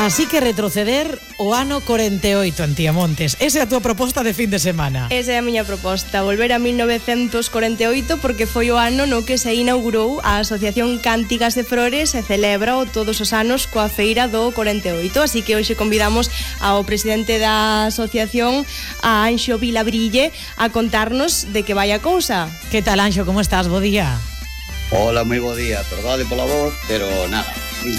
Así que retroceder o ano 48, Antiamontes. Esa é a túa proposta de fin de semana. Esa é a miña proposta, volver a 1948 porque foi o ano no que se inaugurou a Asociación Cántigas de Flores e celebra todos os anos coa feira do 48. Así que hoxe convidamos ao presidente da asociación, a Anxo Vilabrille, a contarnos de que vai a cousa. Que tal, Anxo, como estás? Bo día. Hola, moi bo día, perdade pola voz, pero nada,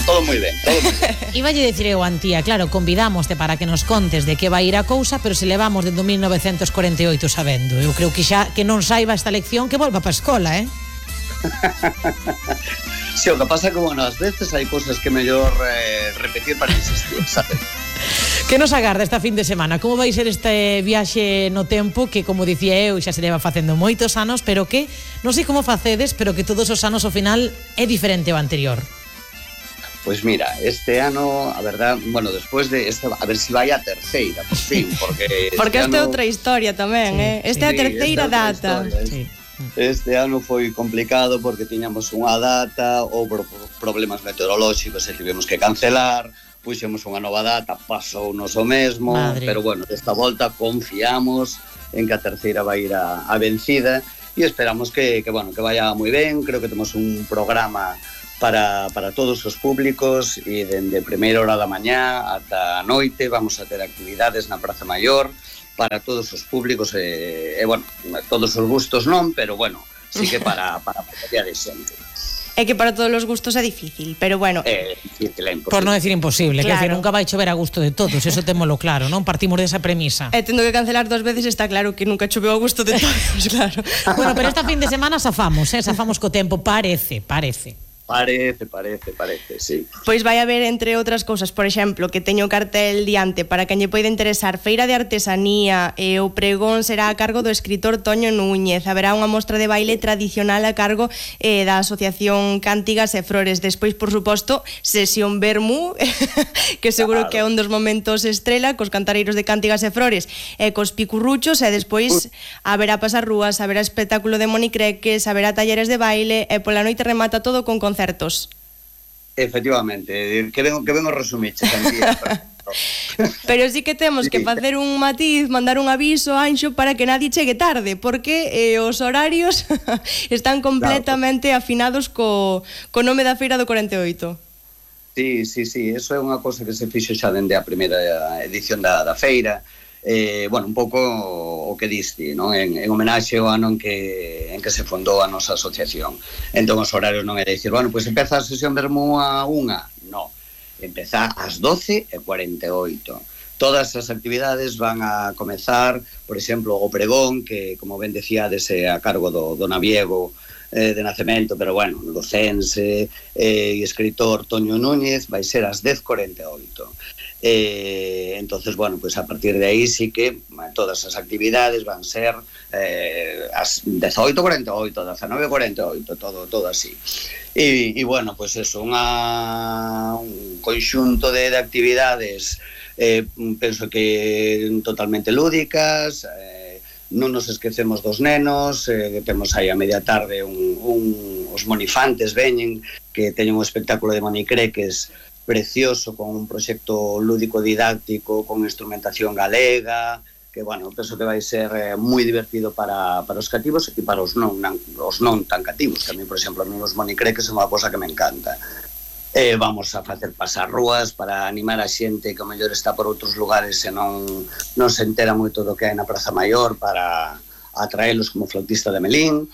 todo moi ben, todo moi ben. Iballe dicir eu, Antía, claro, convidámoste para que nos contes de que vai ir a cousa, pero se levamos desde 1948 sabendo. Eu creo que xa que non saiba esta lección que volva para a escola, Sí, o que pasa que, bueno, ás veces hai cousas que mellor repetir para insistir, sabes? Que nos agarda esta fin de semana? Como vai ser este viaxe no tempo que, como dicía eu, xa se leva facendo moitos anos, pero que, non sei como facedes, pero que todos os anos ao final é diferente ao anterior? Pois mira, este ano, a verdad, bueno, despois de este, a ver se vai a terceira, por fin, porque esta é outra historia tamén, sí, Esta é a terceira data. Sí. Este ano foi complicado porque tiñamos unha data, houve problemas meteorolóxicos e tivemos que cancelar, puxemos unha nova data, pasounos o mesmo, Madre. Pero bueno, desta volta confiamos en que a terceira vai ir a vencida e esperamos que vaya moi ben. Creo que temos un programa para todos os públicos e dende primeira hora da mañá ata a noite vamos a ter actividades na Praza Maior para todos os públicos e bueno, todos os gustos non, pero bueno, sí que para a maioría de xente. É que para todos os gustos é difícil, pero bueno. É difícil, é imposible. Por non decir imposible, claro. Que decir, nunca vai chover a gusto de todos, eso témolo claro, non? Partimos desa premisa. E tendo que cancelar 2 veces está claro que nunca choveu a gusto de todos, claro. Bueno, pero esta fin de semana zafamos co tempo, parece. Parece, sí. Pois vai haber, entre outras cousas, por exemplo, que teño o cartel diante para quen lle poida interesar, feira de artesanía, e o pregón será a cargo do escritor Toño Núñez. Haberá unha mostra de baile tradicional a cargo da Asociación Cántigas e Flores. Despois, por suposto, sesión Vermú, que seguro que é un dos momentos estrela, cos cantareiros de Cántigas e Flores e cos picurruchos, e despois haberá pasarrúas, haberá espectáculo de monicreques, haberá talleres de baile, e pola noite remata todo con concertos. Efectivamente, que ben o resumiche, Santía. Pero sí que temos que facer un matiz, mandar un aviso, Anxo, para que nadie chegue tarde, porque os horarios están completamente afinados co nome da feira do 48. Sí, eso é unha cosa que se fixo xa dende a primeira edición da feira. Bueno, un pouco o que diste, non? En homenaxe ao ano en que se fundou a nosa asociación. Entón os horarios non é dicir, bueno, pois empeza a sesión Vermú a 1, non, empeza ás 12:48. Todas as actividades van a comezar, por exemplo, o pregón, que, como ben decíades, é a cargo do naviego de nacemento, pero bueno, lucense e escritor Toño Núñez, vai ser ás 10:48. Entonces, bueno, pues a partir de aí sí que todas as actividades van ser as 18:48, 19:48, todo así. E bueno, pues eso, un conxunto de actividades penso que totalmente lúdicas, non nos esquecemos dos nenos, temos aí a media tarde os monifantes veñen, que teñen un espectáculo de monicreques precioso, con un proxecto lúdico didáctico, con instrumentación galega, que, bueno, penso que vai ser moi divertido para os cativos e para os non tan cativos, que a mí, por exemplo, a mí os monicreques é unha cosa que me encanta. Vamos a facer pasarrúas para animar a xente que ao mellor está por outros lugares e non se entera moito do que hai na Praza Maior, para atraelos como flautista de Melín.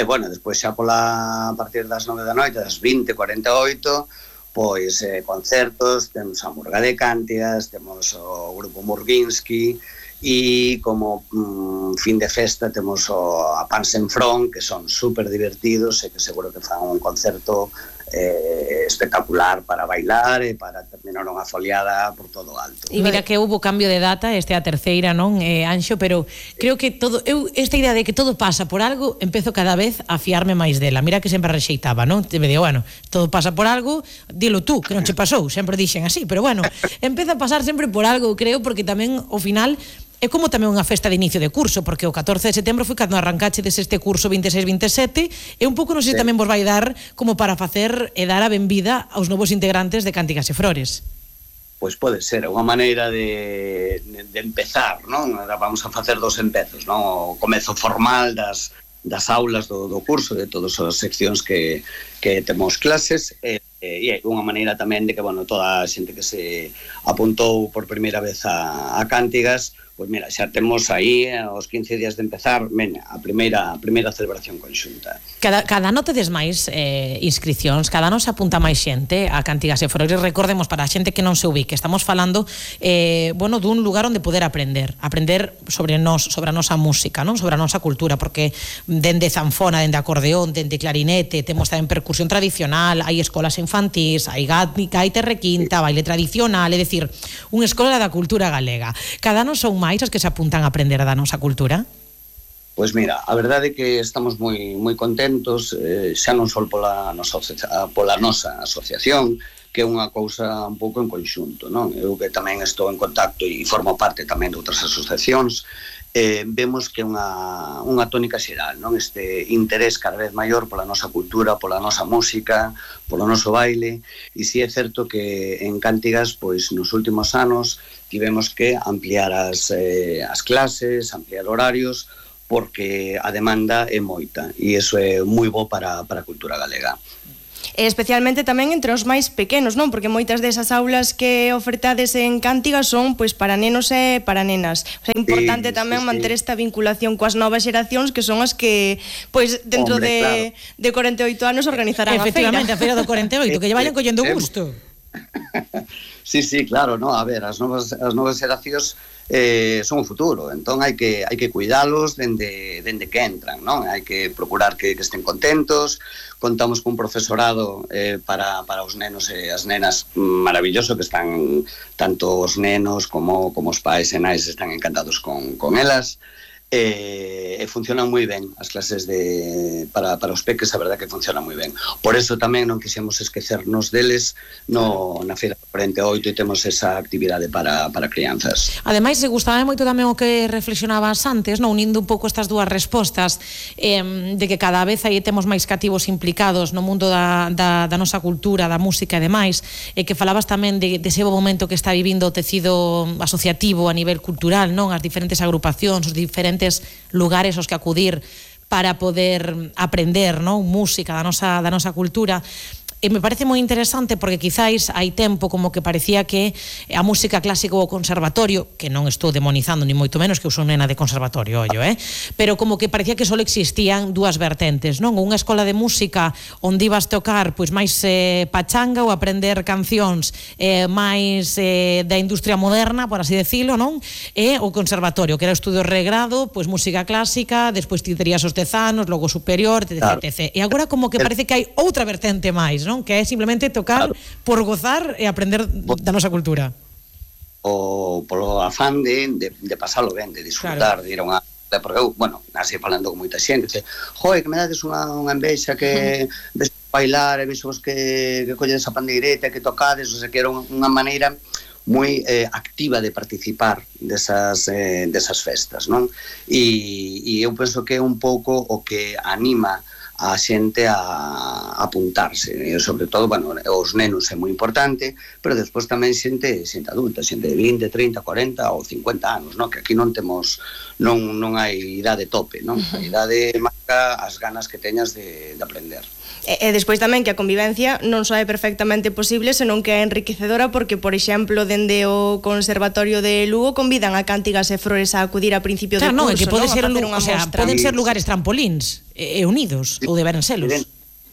Bueno, despois xa a partir das 9 da noite, das 20:48, pois concertos, temos a Murga de Cántigas, temos o grupo Murguinsky e como fin de festa temos a Pans en Front, que son super divertidos e que seguro que fan un concerto espectacular para bailar e para terminar unha foliada por todo alto. E mira que houve cambio de data, este é a terceira, non, Anxo, pero creo que esta idea de que todo pasa por algo, empezo cada vez a fiarme máis dela. Mira que sempre rexeitaba, non? Me digo, bueno, todo pasa por algo, dilo tú, que non che pasou, sempre dixen así, pero bueno, empeza a pasar sempre por algo, creo, porque tamén, ao final, é como tamén unha festa de inicio de curso, porque o 14 de setembro foi cando arrancachedes este curso 26-27, e un pouco non sei se tamén vos vai dar como para facer e dar a benvida aos novos integrantes de Cántigas e Flores. pois pode ser unha maneira de empezar, non? Vamos a facer 2 empezos, non? O comezo formal das aulas do curso, de todas as seccións que temos clases, e é unha maneira tamén de que, bueno, toda a xente que se apuntou por primeira vez a Cántigas, pois mira, xa temos aí aos 15 días de empezar, a primeira celebración conxunta. Cada ano tedes máis inscricións, cada ano se apunta máis xente a Cántigas e Froires. Recordemos, para a xente que non se ubique, estamos falando bueno, dun lugar onde poder aprender sobre nós, sobre a nosa música, non? Sobre a nosa cultura, porque dende zanfona, dende acordeón, dende clarinete, temos tamén percusión tradicional, hai escolas infantís, hai gaita requinta, baile tradicional, é dicir, unha escola da cultura galega. Cada ano son máis as que se apuntan a aprender da nosa cultura? Pois mira, a verdade é que estamos moi contentos, xa non só pola nosa asociación, que é unha cousa un pouco en conxunto, non? Eu que tamén estou en contacto e formo parte tamén de outras asociacións, vemos que é unha tónica xeral, non? Este interés cada vez maior pola nosa cultura, pola nosa música, polo noso baile, e si é certo que en Cántigas, pois nos últimos anos tivemos que ampliar as clases, ampliar horarios, porque a demanda é moita, e iso é moi bo para a cultura galega. Especialmente tamén entre os máis pequenos, non? Porque moitas desas aulas que ofertades en Cántigas son pois para nenos e para nenas. O sea, é importante tamén manter esta vinculación coas novas xeracións, que son as que pois dentro de 48 anos organizarán a feira. Efectivamente, a feira do 48, que lle vayan collendo gusto. Sí, claro, no, a ver, as novas xeracións son o futuro, entón hai que cuidalos dende que entran, non? Hai que procurar que estén contentos. Contamos cun profesorado para os nenos e as nenas maravilloso, que están tanto os nenos como os pais e nais están encantados con elas. E funcionan moi ben as clases para os peques, a verdad que funcionan moi ben. Por eso tamén non quixemos esquecernos deles na Feira 48, e temos esa actividade para crianzas. Ademais, gustaba moito tamén o que reflexionabas antes, non? Unindo un pouco estas dúas respostas, de que cada vez aí temos máis cativos implicados no mundo da nosa cultura, da música e demais, e que falabas tamén dese momento que está vivindo o tecido asociativo a nivel cultural, non? As diferentes agrupacións, os diferentes lugares aos que acudir para poder aprender, non? Música da nosa cultura. E me parece moi interesante porque quizáis hai tempo como que parecía que a música clásica ou o conservatorio, que non estou demonizando ni moito menos, que eu son nena de conservatorio, pero como que parecía que só existían dúas vertentes, non? Unha escola de música onde ibas tocar pois máis pachanga ou aprender cancións máis da industria moderna, por así decirlo, non? E o conservatorio, que era o estudio regrado, pois música clásica, despois ti terías os 10 anos, logo superior, etc. E agora como que parece que hai outra vertente máis, non? Que é simplemente tocar por gozar e aprender da nosa cultura. Polo afán de pasalo ben, de disfrutar, de ir a unha... Porque eu, bueno, así falando con moita xente, dice, que me dades unha envexa que ves bailar e ves vos que colledes a pandeireta, que tocades, o sea, que era unha maneira moi activa de participar desas festas, non? E eu penso que é un pouco o que anima a xente a apuntarse, e sobre todo, bueno, os nenos é moi importante, pero despois tamén xente adulta, xente de 20, 30, 40 ou 50 anos, non? Que aquí non temos, non hai idade tope, non? A idade marca as ganas que teñas de aprender. E despois tamén que a convivencia non só é perfectamente posible, senón que é enriquecedora, porque, por exemplo, dende o Conservatorio de Lugo convidan a Cántigas e Froires a acudir a principio de curso, non? Que pode ser, o sea, poden ser lugares trampolíns e unidos, ou deberán selos.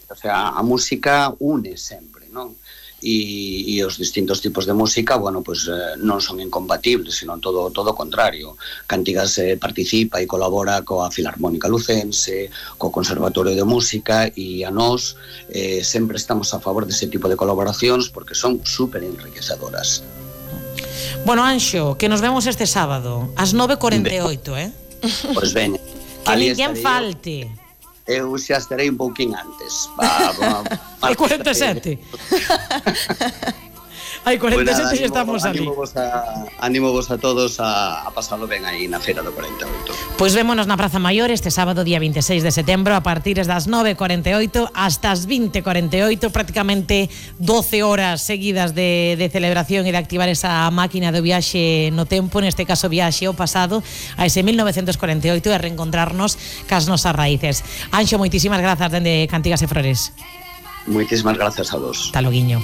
O sea, a música une sempre, non? E os distintos tipos de música, bueno, pues non son incompatibles, sino todo o contrario. Cántigas participa e colabora coa Filarmónica Lucense, co Conservatorio de Música, e a nós sempre estamos a favor dese tipo de colaboracións porque son super enriquecedoras. Bueno, Anxo, que nos vemos este sábado ás 9:48, Pois veña. Que ninguén falte. Eu xa estarei un pouquín antes. E 47. Hai 47 e estamos ali. Animo vos a todos a pasalo ben aí na Feira do 48. Pois vémonos na Praza Maior este sábado día 26 de setembro a partir das 9:48 hasta as 20:48, prácticamente 12 horas seguidas de celebración e de activar esa máquina do viaxe no tempo, neste caso viaxe ao pasado, a ese 1948 e reencontrarnos cas nosas raíces. Anxo, moitísimas grazas dende Cantigas e Flores. Moitísimas grazas a vos. Hasta loguiño.